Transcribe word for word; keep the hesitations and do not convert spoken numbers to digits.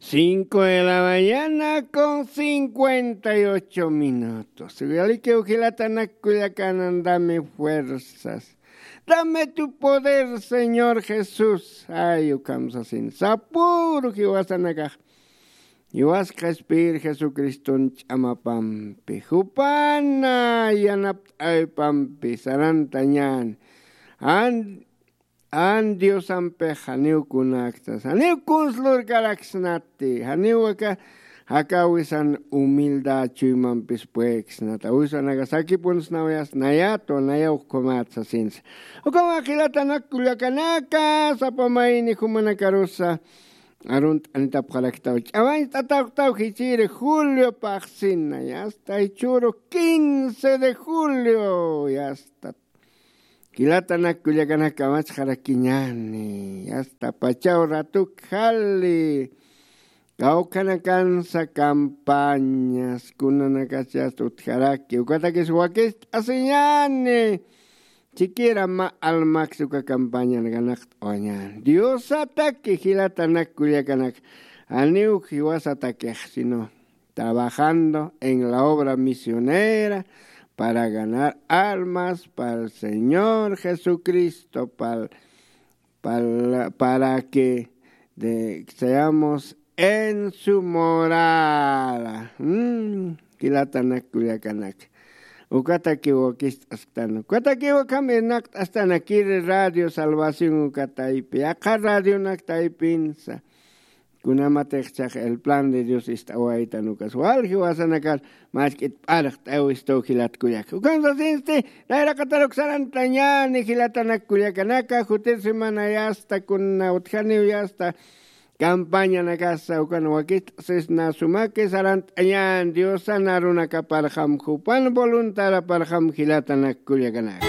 Cinco de la mañana con cincuenta y ocho minutos. Uyalikiw jilatanak kullakanan, dame fuerzas. Dame tu poder, Señor Jesús. Ay, ukham sasin. Sapüru jiwasanakax. Jiwas qhispiyir Jesucriston ch'amapampi. Jupana yanapt'awipampi sarantañän. An An Diosampix janiw kunaktas, janiw kuns lurkaraksnati, janiw aka, aka awisan humildad chuymampis pueksnata, awisanaka sakipunsnawayas, nayatwa, nayaw ukhamat sasinsa. Ukhama jilatanak kullakanaka, sapa mayni jumanakarusa, arunt'anitapxaraktaw, ch'amañt'atawtaw jichiri Julio paxsina, yasta jichhüru quince de julio, yasta. Jilatanak kullakanak kamachxarakiñäni, yasta pachaw ratuk jali, kawkhanakansa campañas, kunanakas yasta utjaraki, ukatakis wakist'asiñäni, siquiera mä almaks uka campañan ganaqt'awañäni. Diosataki jilatanak kullakanak, janiw jiwasatakix, sino trabajando en la obra misionera para ganar almas para el Señor Jesucristo, para, para, para que de, seamos en su morada. Mm, jilatanak kullakanak. Ukatakiw wakist'asktan. Ukatakiw ukham irnaqt'astan kiri Radio Salvación uka taypi. Yaqha radionak taypinsa. Kunamatix chhax el plan de Dios ist'awaytan ukas. Wal jiwasanakar mask'it p'arxt'aw istu jilat kullak. Ukan sasinsti, nayraqataruk sarantañäni jilatanak kullakanaka, jutir semana yasta, kuna utjaniw yasta, campañanakasa, ukan wakist'asisna sumaki sarantañän Diosan arunakaparxam, jupan voluntaraparxam jilatanak kullakanaka.